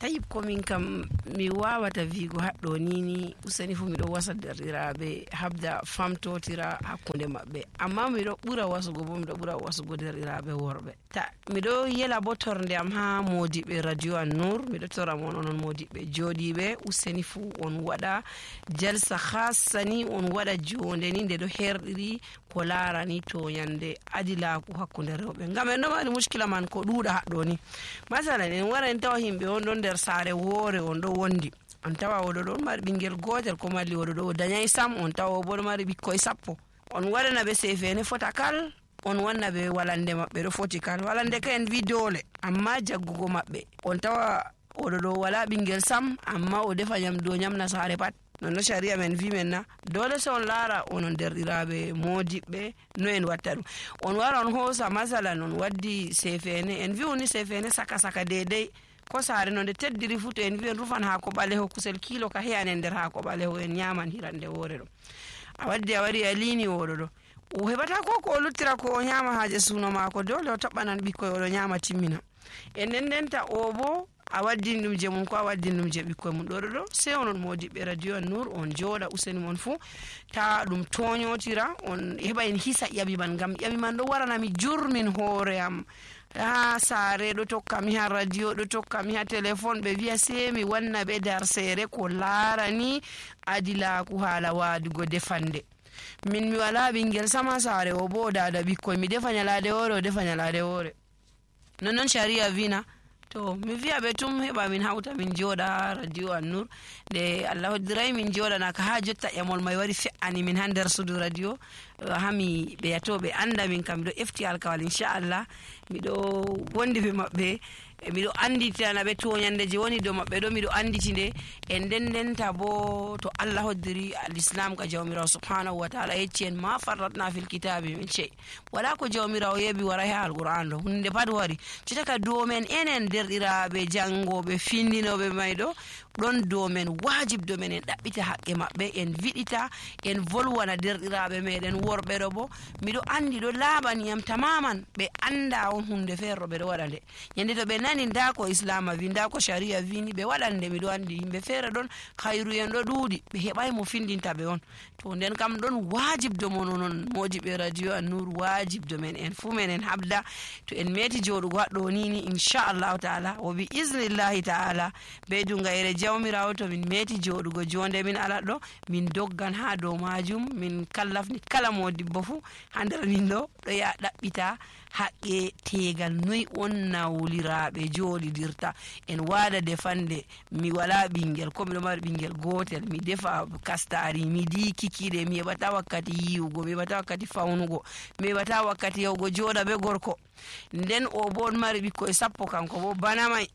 tayib ko min kam mi wawata wiigo haddo ni useni fu mido wasa derdiraabe habda famtotira hakkunde mabbe amma mido bura wasugo bo mido bura wasugo derdiraabe worbe ta mido yela bo torde am ha modibe radio An-Nur mido tora mon onon modibe jodibe useni fu on wada jalsa khassani on wada jonde ni de do herdiri ko larani to yande adila ko hakkunde rewbe ngam en no mari muskila man ko duuda haddo ni masalan en wara en tawa himbe on don der saare woore on do wondi on tawa odo don mari bingel gotel ko malli odo do danyai sam on tawa bo mari bikkoy sappo on wadana be sefene fotakal on wanna be walande mabbe do fotikal walande ka en vidole amma jaggugo mabbe on tawa odo do wala bingel sam amma o defa nyamdo nyamna saare pat non sharia men vi men na dole so on lara onon derdiraabe modibbe no en watta dum on wara on hosa masalan on waddi sefene en vi oni sefene saka dedei ko saare non de teddiri futo en vi en rufan ha ko baleho kusel kilo ka heyanen der ha ko baleho en nyaman hirande wore do a wari alini wodo do o hebata ko luttira ko nyama haaje suno mako dole o tabbanan bikkoy o nyama timmina en denta o bo a waddin dum je mun ko a waddin dum je bikkoy mun do se onon modibe radio An-Nur on joda useni mon fu ta dum toñotira on heba en hisa yabi man gam yabi man do warana mi jurmin hoore am saare do tokka mi ha radio do tokka mi ha telephone be wi'a se mi wanna be dar sere ko larani adila ku hala wadugo defande min mi wala bingel sama saare o bo dada bikkoy mi defa nyalade wore o defa nyalade wore non sharia vina to mi wi'a be tum heba min hauta min joda radio An-Nur de Allah diray min joda na ka ha jotta emol may wari fe'ani min hander sudu radio hami be yatobe anda min kam do efti alkawal inshallah mi do wondi be mabbe mi do anditana be to nyande je woni do mabbe do mi do anditinde en dendenta bo to Allah hoddiri al-islam ka jawmira subhanahu wa ta'ala yeccen ma farratna fil kitabi min shay wala ko jawmira o yebi wara ha al-Qur'an do hunde pad wari citaka do men enen derdiraabe jangobe findinobe maydo don do men wajib do men en dabbita hakke mabbe en vidita en volwana derdiraabe meden worbe do bo mido andi do labani am tamaman be anda on hunde ferro be do wadande yende to be nani nda ko islam vi nda ko sharia vini be wadande mido andi himbe fere don khairu en do dudi be hebay mo findinta be on to den kam don wajib do monon modibe radio An-Nur wajib do men en fu men en habda to en meti jodugo haddo nini inshallah taala o bi iznillahi taala be dunga ere jawmirawo to min meti jodugo jonde min ala do min doggan ha do majum min kallafni kala modibbo fu handere min do ya dabbita hakke tegal noy on nawliraabe jolidirta en wada defande mi wala bingel ko mi do mari bingel gotel mi defa kastari mi di kikide mi bata wakkati yiwugo mi bata wakkati fawnugo mi bata wakkati yawgo joda be gorko den o bon mari bikko e sappo kanko bo bana mai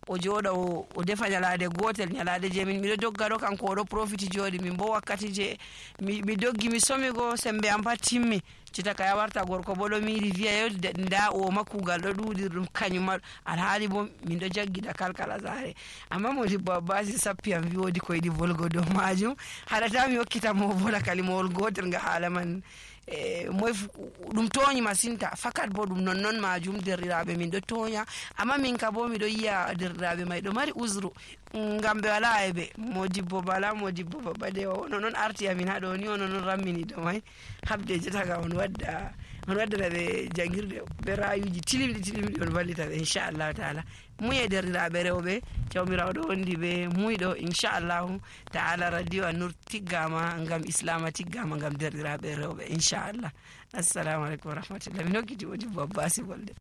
o joda o defa nyalade gotel nyalade je min mido doggado kanko o do profiti jodi min bo wakkati je mi doggi mi somigo sembe am patimmi citaka ya warta gorko bodo miri wi'a yo nda o makugal do dudi dum kanyum alhaali bo min do jaggida kalkala zare amma mo di babasi sappi am wi wodi ko yidi volgo do majum halata mi hokkita mo vola kalimol gotel nga hala man moy dum toñi masinta fakat bo dum non majum derrirabe min do toña amma min ka bo mi do yiya derrirabe may do mari uzru ngambe wala ebe modibbo baba de non arti amin hado ni non rammini do may habde jetaga on wadda be jangirde be rayuji tilimdi on vallita be inshallah taala muye derrirabe rewbe jawmirawo do wondi be muydo inshallah taala radio An-Nur tiggama ngam islam tiggama ngam derrirabe rewbe inshallah assalamu alaikum wa rahmatullahi min hokkiti wodi babasi bolde